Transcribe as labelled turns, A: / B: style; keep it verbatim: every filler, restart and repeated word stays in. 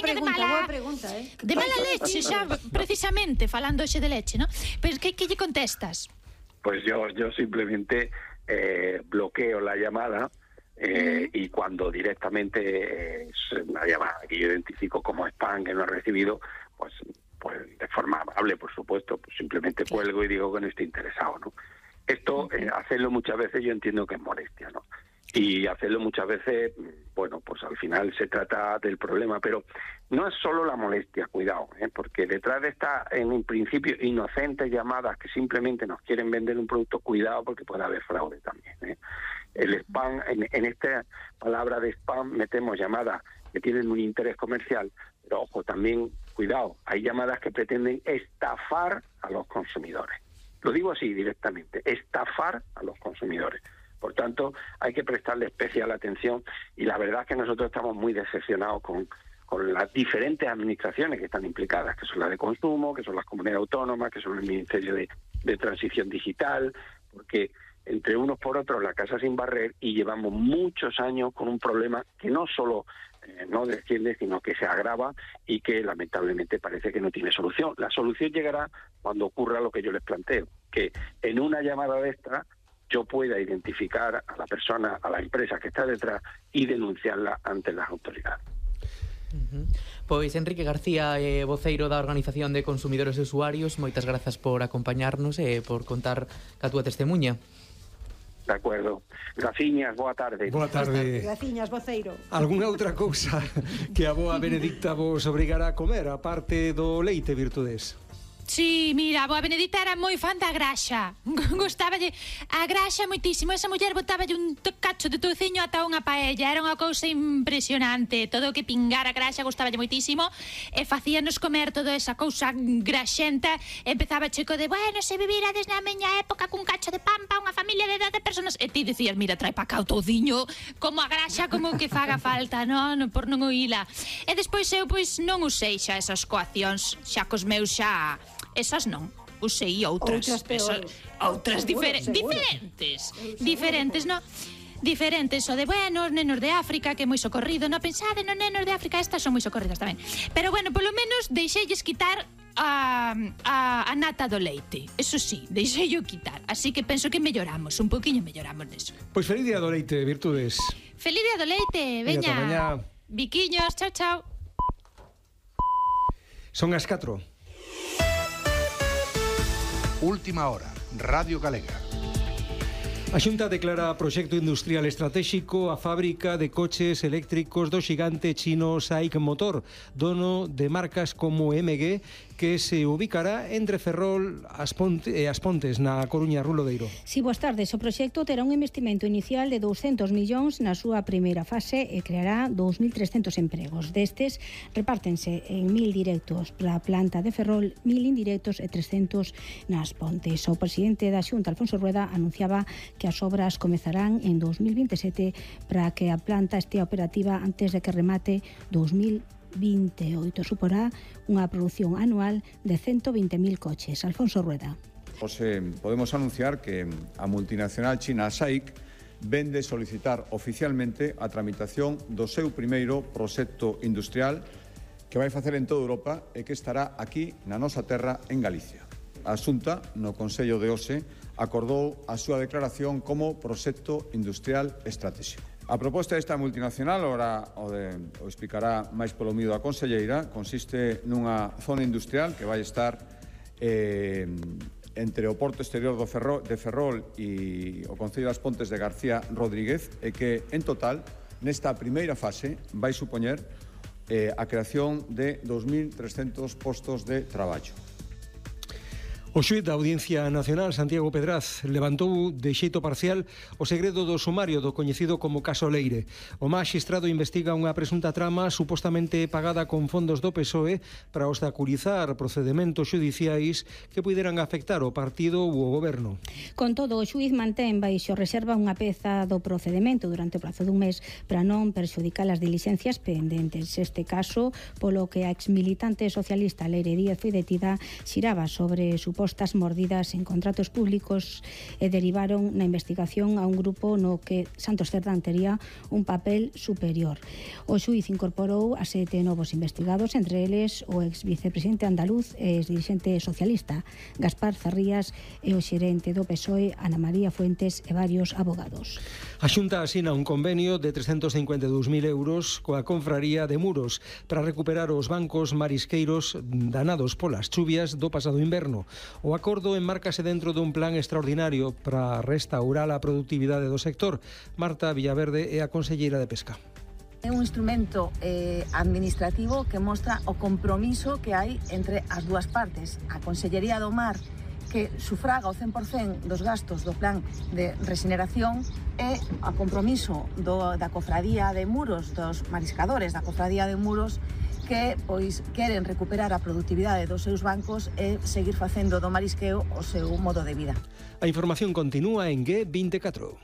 A: veña de mala... Boa pregunta, eh?
B: De mala leche, xa, precisamente, falando hoxe de leche, ¿no? Pero que, que lle contestas?
C: Pues yo, yo simplemente eh, bloqueo la llamada eh, uh-huh. y cuando directamente eh, es una llamada que yo identifico como spam, que no he recibido, pues, pues de forma amable, por supuesto, pues simplemente cuelgo y digo que no estoy interesado, ¿no? Esto, uh-huh. eh, hacerlo muchas veces yo entiendo que es molestia, ¿no? Y hacerlo muchas veces, bueno, pues al final se trata del problema, pero no es solo la molestia, cuidado, ¿eh? Porque detrás de estas, en un principio, inocentes llamadas que simplemente nos quieren vender un producto, cuidado porque puede haber fraude también, ¿eh? El spam, en, en esta palabra de spam metemos llamadas que tienen un interés comercial, pero ojo, también, cuidado, hay llamadas que pretenden estafar a los consumidores. Lo digo así directamente, estafar a los consumidores. Por tanto, hay que prestarle especial atención y la verdad es que nosotros estamos muy decepcionados con, con las diferentes administraciones que están implicadas, que son las de consumo, que son las comunidades autónomas, que son el Ministerio de, de Transición Digital, porque entre unos por otros la casa sin barrer y llevamos muchos años con un problema que no solo eh, no desciende, sino que se agrava y que lamentablemente parece que no tiene solución. La solución llegará cuando ocurra lo que yo les planteo, que en una llamada de esta yo pueda identificar a la persona, a la empresa que está detrás y denunciarla ante las autoridades.
D: Uh-huh. Pois Enrique García, eh, voceiro da Organización de Consumidores e Usuarios, moitas grazas por acompañarnos e eh, por contar a túa testemunha.
C: De acordo. Graciñas, boa tarde.
E: Boa tarde.
A: Graciñas, voceiro.
E: Algúnha outra cousa que a boa Benedicta vos obrigara a comer, a parte do leite, Virtudes?
B: Sí, mira, a boa Benedita era moi fan da graxa. Gustáballe a graxa moitísimo. Esa muller botáballe un cacho de touciño ata unha paella. Era unha cousa impresionante. Todo o que pingara graxa gustáballe moitísimo. E facíanos comer toda esa cousa graxenta. Empezaba chico de, bueno, se vivirades na miña época cun cacho de pan pa unha familia de doce personas. E ti dicías, mira, trae pa cá o touciño, como a graxa, como que faga falta, non? Por non oíla. E despois eu, pois, non usei xa esas coaccións. Xa cos meus xa... Esas non, usei outras.
A: Outras peores.
B: Outras difer seguro. diferentes. Diferentes, no? Diferentes, o de, bueno, os nenos de África, que é moi socorrido, no pensade nos nenos de África, estas son moi socorridas tamén. Pero bueno, polo menos deixeilles quitar a, a, a nata do leite. Eso sí, deixeillo quitar. Así que penso que melloramos, un poquinho melloramos neso.
E: Pois feliz día do leite, Virtudes.
B: Feliz día do leite, veña. Biquiños, chao, chao.
E: Son as catro.
F: Última hora, Radio Galega.
E: A Xunta declara proxecto industrial estratéxico a fábrica de coches eléctricos do xigante chino SAIC Motor, dono de marcas como M G, que se ubicará entre Ferrol as Ponte, e as Pontes, na Coruña, Rulodeiro.
G: Si, boas tardes. O proxecto terá un investimento inicial de douscentos millóns na súa primeira fase e creará dous mil trescentos empregos. Destes, repártense en mil directos para a planta de Ferrol, mil indirectos e trescentos nas Pontes. O presidente da Xunta, Alfonso Rueda, anunciaba que as obras comezarán en dos mil vinte e sete para que a planta estea operativa antes de que remate dos mil vinte e oito. Suporá unha produción anual de ciento vinte mil coches. Alfonso Rueda.
H: Pues, eh, podemos anunciar que a multinacional china SAIC vende solicitar oficialmente a tramitación do seu primeiro proxecto industrial que vai facer en toda Europa e que estará aquí na nosa terra en Galicia. A Xunta, no Consello de hoxe, acordou a súa declaración como proxecto industrial estratégico. A proposta desta multinacional, ora o, de, o explicará máis polo mido a conselleira, consiste nunha zona industrial que vai estar eh, entre o porto exterior do Ferrol, de Ferrol e o Concello das Pontes de García Rodríguez e que, en total, nesta primeira fase vai supoñer eh, a creación de dos mil trescentos postos de traballo.
E: O xuíz da Audiencia Nacional, Santiago Pedraz, levantou de xeito parcial o segredo do sumario do coñecido como caso Leire. O magistrado investiga unha presunta trama supostamente pagada con fondos do P S O E para obstaculizar procedementos xudiciais que puderan afectar o partido ou o goberno.
G: Con todo, o xuíz mantén baixo reserva unha peza do procedemento durante o prazo dun mes para non perxudicar as dilixencias pendentes. Este caso, polo que a exmilitante socialista Leire Díaz foi detida, xiraba sobre supostos supostas mordidas en contratos públicos e derivaron na investigación a un grupo no que Santos Cerdán tería un papel superior. O xuíz incorporou a sete novos investigados, entre eles o ex vicepresidente andaluz e ex dirixente socialista Gaspar Zarrías e o xerente do P S O E Ana María Fuentes e varios abogados.
E: A Xunta asina un convenio de trescentos cincuenta e dous mil euros coa Confraría de Muros para recuperar os bancos marisqueiros danados polas chuvias do pasado inverno. O acordo enmárcase dentro dun plan extraordinario para restaurar a productividade do sector. Marta Villaverde é a conselleira de Pesca.
I: É un instrumento eh, administrativo que mostra o compromiso que hai entre as dúas partes. A Consellería do Mar, que sufraga o cen por cento dos gastos do plan de regeneración, e a compromiso do, da Cofradía de Muros, dos mariscadores da Cofradía de Muros, que pois queren recuperar a productividade dos seus bancos e seguir facendo do marisqueo o seu modo de vida.
E: A información continúa en G veinticuatro.